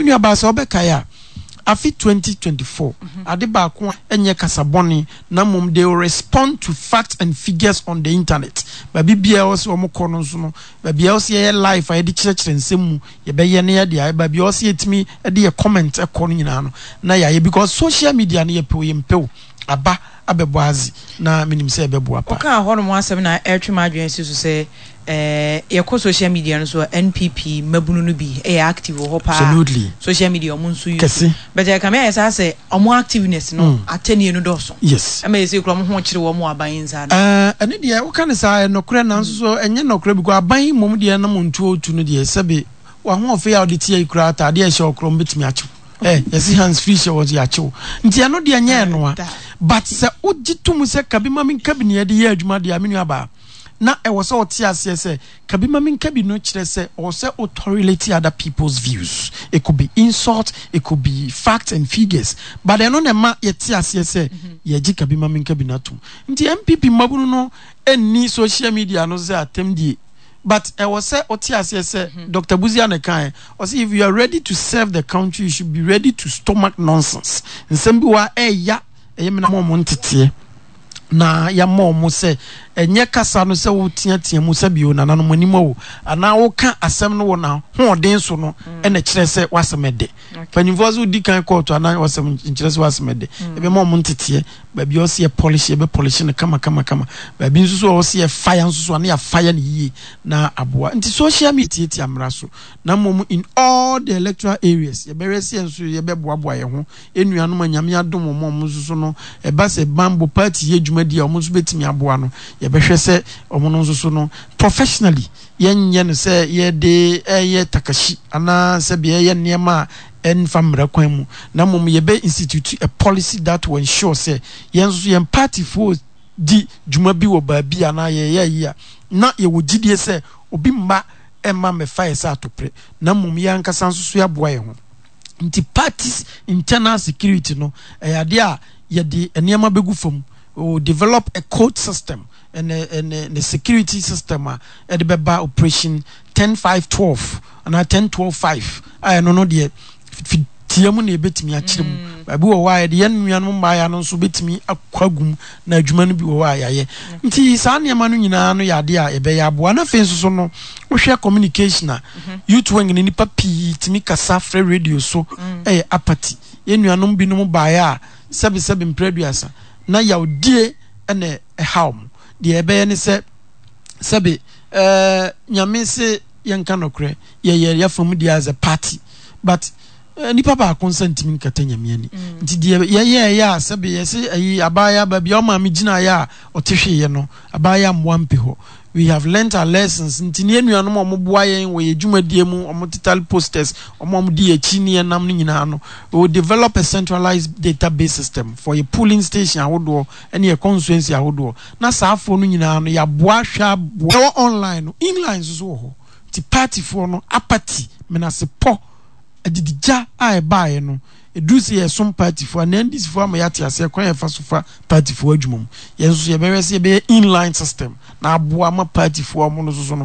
Me nua baa, sɛ ɔbɛkae a, afe 2024, ade baako a ɛnyɛ kasa bɔne na mmom they will respond to facts and figures on the internet. Baabi biara ɛwɔ sɛ wɔn kɔ no nso no, baabi a ɛwɔ sɛ yɛyɛ live a yɛde kyerɛkyerɛ nsɛm mu, yɛbɛyɛ na yɛde ayɛ. Baabi a ɛwɔ sɛ yɛtumi de yɛ comment kɔ no nyinaa no, na yɛayɛ, because social media no, yɛpɛ o yɛmpɛ o, aba abɛbɔ adze na menim sɛ ɛbɛboa paa. Wokaa hɔnom asɛm na ɛretwe m'adwene asi so sɛ yɛkɔ social media no so a, NPP mmabunu no bi yɛ active wɔ hɔ paa. Social media wɔn nso use. Kɛse. But ɛkame ayɛ saa sɛ wɔn activeness no atɛnie no dɔɔso. Ɛma yɛsɛ kura wɔn ho kyere wɔn wɔ aban yi nsa ano. Ɛno deɛ woka no saa, ɛyɛ nɔkorɛ, nanso so ɛnyɛ nɔkorɛ, because aban yi mmom deɛ na montuo tu no deɛ, sɛbe w'ahoɔfɛ yi a wode te ayi koraa, ataadeɛ a ɛhyɛ wo koraa wɔbɛtumi akye wo. Yɛse hands free hyɛ wɔ so yɛakye wo, nti ɛno deɛ nyɛ ɛnoa. But sɛ wogye to mu sɛ kabi ma menka bi na yɛde yɛ adwuma deɛ a, me nua baa, na ɛwɔ sɛ ɔte aseɛ sɛ kabi ma menka bi no kyerɛ sɛ ɔwɔ sɛ wo tolerate other people's views. It could be insult, it could be facts and figures, but ɛno na ɛma yɛte aseɛ sɛ yɛgye kabi ma menka bi no atom. Nti NPP mmabunu no nni social media no sɛ atɛmdie, but ɛwɔ sɛ wote aseɛ sɛ Doctor Busia na ɛkaeɛ, ɔse if you are ready to serve the country, you should be ready to stomach nonsense. Nsɛm bi wɔ hɔ a ɛɛya, ɛyɛ me na ma ɔmo nteteɛ na yɛama ɔmo sɛ ɛnyɛ kasa no sɛ woteatea mu sɛ bio nananom anim o, anaa woka asɛm no wɔ n'ahoɔden so no ɛna kyerɛ sɛ w'asɛm ɛdɛ. Mpanyinfoɔ sɛ wodi kan kɔɔto anaa w'asɛm nkyerɛ sɛ w'asɛm ɛdɛ. Yɛbɛma ɔmo nteteɛ. Baabi a ɔsɛ yɛ polish, yɛbɛ polish no kama kama kama. Baabi nso so a ɔsɛ yɛ fire nso so a, na yɛ fire no yie na aboa. Nti social media tiatia mmara so, na mmom in all the electoral areas yɛbɛhwɛ sɛ yɛn nso yɛbɛboaboa yɛn ho. Yɛn nuanom a Nyame adom wɔn a wɔn nso so no ɛba sɛ banbɔ party yɛ dwumadie a wɔn nso bɛtumi aboa no, yɛbɛhwɛ sɛ wɔn no nso so no professionally, yɛnyɛ no sɛ yɛde reyɛ takashi anaa sɛ bia yɛyɛ nneɛma a ɛmfa mmara kwan mu, na mmom yɛbɛ institute a policy that will ensure sɛ yɛn nso yɛn partyfoɔ di dwuma bi wɔ baabi anaa yɛyɛ ayi a, na yɛwɔ gyidie sɛ obi mma mma mmɛfa yɛ sɛ atopere, na mmom yɛn ankasa nso so yɛaboa yɛn ho. Nti party's internal security no, ɛyɛ adeɛ a yɛde nneɛma bɛgu fam. We will develop a code system and a security system a ɛde bɛba operation 10 5 12 anaa 10 12 5 a, ɛno no deɛ fitia mu na yɛbɛtumi akyerɛ mu. Baabi wɔ hɔ a yɛde yɛn nuanom mmaayɛ no nso bɛtumi akɔ agu mu na adwuma no bi wɔ hɔ a yɛayɛ. Nti saa nneɛma no nyinaa no yɛ adeɛ a yɛbɛyɛ aboa. Na afei nso so no, wohwɛ communication a, youth wing no, nipa pii tumi kasa frɛ radio so. Ɛyɛ apathy. Yɛn nuanom binom baeɛ a, sɛbesɛbe mprɛ aduasa na yawdie na ɛhaw mo. Deɛ ɛbɛyɛ ne sɛ, sɛbe Nyame se yɛnka nɔkorɛ, yɛyɛ yɛfa mu deɛ as a party, but nipa baako nsa ntumi nkata Nyame ani. Nti deɛ yɛyɛɛyɛ a, sɛbe yɛse ayi abaayewa baabi a ɔmaame gyinaeɛ a ɔte hweeɛ no, abaayewa mmoa mpe hɔ. We have learnt our lessons. Nti ne yɛn nuanom a wɔboa yɛn wɔ yɛn dwumadie mu, wɔn tetale posters, wɔn a wɔdi yɛn akyi ne yɛn nam no nyinaa no, we will develop a centralized database system for yɛ polling station ahodoɔ ne yɛ constituency ahodoɔ, na saa afoɔ no nyinaa no yɛaboa ahwɛ aboa. Ɛwɔ online no, inline nso so wɔ hɔ. Nti partyfoɔ no apathy, menasepɔ, adidigya a ɛbaeɛ no, ɛduru sɛ yɛsom partyfoɔ anaa NDCfoɔ ama yɛate aseɛ kwan a yɛfa so fa partyfoɔ adwuma mu. Yɛn nso so yɛbɛhwɛ sɛ yɛbɛyɛ inline system na aboa ama partyfoɔ a wɔn no nso so no.